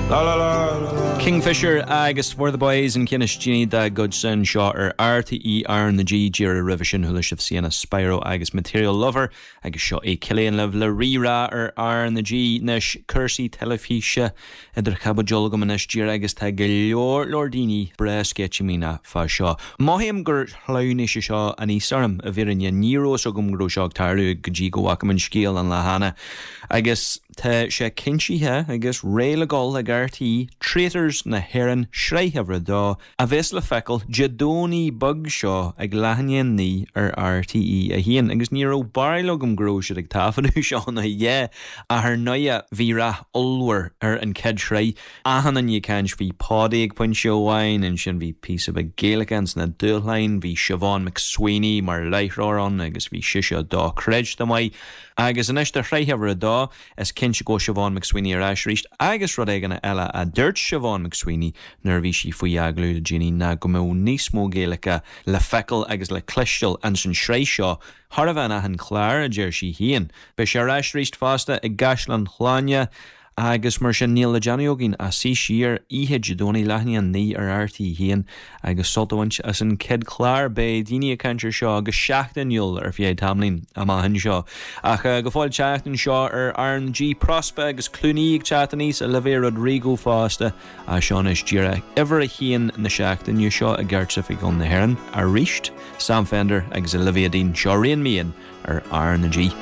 La la la la la. Kingfisher agus For the Boys an ceann is déanaí dá gcuidsean anseo ar RTÉ R na G. Díreach roimhe sin chuala sibh Sienna Spiro agus Material Lover agus seo é Cillian libh le Rí-Rá ar R na G. Anois cúrsaí teilifíse idir chaibidil agam anois díreach agus tá go leor leor daoine breá sceitimíneach fá seo. Mothaím gur shleamhnaigh sé seo aníos orm, i bhfírinne. Ní raibh fhios agam go raibh seo ag tarlú go dtí go bhfaca mé an scéal an lá cheana. Agus tá sé cinntithe agus réidh le gol ag RTÉ, Traitors na hÉireann, sraith uimhir a dó, a bheas le feiceáil Dé Domhnaigh beag seo ag leath i ndiaidh a 9 ar RTÉ 1. Agus ní raibh barúil agam go raibh siad ag taifeadadh seo nó a dhath, ach ar ndóighe bhí rath ollmhór ar an chéad sraith. Achan duine ag caint, bhí Paudie ag pointe amháin, ansin bhí píosa beag Gaeilge ins na dúshláin, bhí Siobhán McSweeney mar láithreoir ann agus bhí sise dochreidte maith. Agus anois do shraith uimhir a dó, is cinnte go bhfuil Siobhán McSweeney ar ais arís agus rud éigin eile a dúirt Siobhán McSweeney nuair a bhí sí faoi agallamh le déanaí ná go mbeadh níos mó Gaeilge le feiceáil agus le cloisteáil ins an sraith seo chóir a bheith in achan chlár, a deir sí féin. Beidh sé ar ais arís fosta i gCaisleán Shláine agus mar sin níl le déanamh againn ach suí siar oíche Dé Domhnaigh leath i ndiaidh a 9 ar RTÉ 1 agus sult a bhaint as an chéad chlár. Beidh daoine ag caint ar seo go seachtainiúil ar feadh tamaillín amach anseo. Ach go fóill an tseachtain seo ar RnaG, Prospa agus Clooney ag teacht aníos, Olivia Rodrigo fosta. Ach seo anois díreach uimhir a haon na seachtaine seo i gCairteoifigiúil na hÉireann arís, Sam Fender agus Olivia Dean. Seo Rein Me In ar RnaG.